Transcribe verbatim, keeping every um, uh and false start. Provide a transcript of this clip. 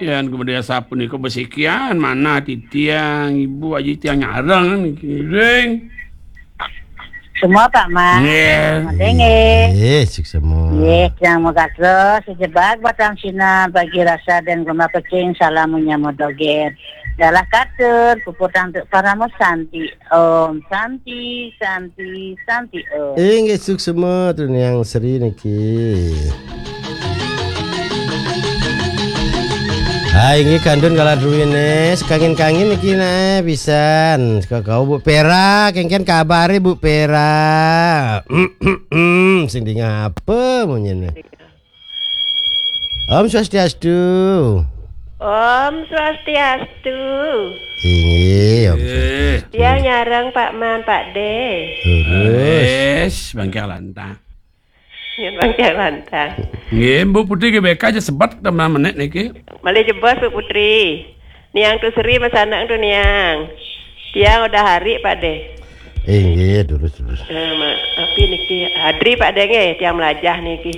Yan kemudian sapunika besikian manah titiang, ibu aji tiang nyareng niki, ngiring. Semua Pak Man. Nggih. Semua dengeh. Eh, suksema. Nggih, yang megatra sejebak batang sinar bagi rasa dan gelombang pecing salam menyambut doget. Dalah katur, puputang untuk para santi. Om Santi, Santi, Santi Om. Inggih suksema tu Niang Sri niki. Hai, inggih kandun kala druwine, sekangin-kangin niki nah pisan. Saka kau Bu Pera, kengken kabare Bu Pera. Sing dingah apa munyine? Om Swastiastu. Om Swastiastu. Inggih, Om Eh, Swastiastu. Tiang nyareng Pak Man, Pak De. Terus. Wis, bangke lantang. Nyun bangke lantang. Nggih, Bu Putri G B K aja sebat teman menit niki. Malih jebos Bu Putri. Niang tu Sri masanak tu Niang. Tiang udah hari Pak De. Inggih, terus terus. Nah, ma, api niki hadri Pak De nggih, tiang melajah niki.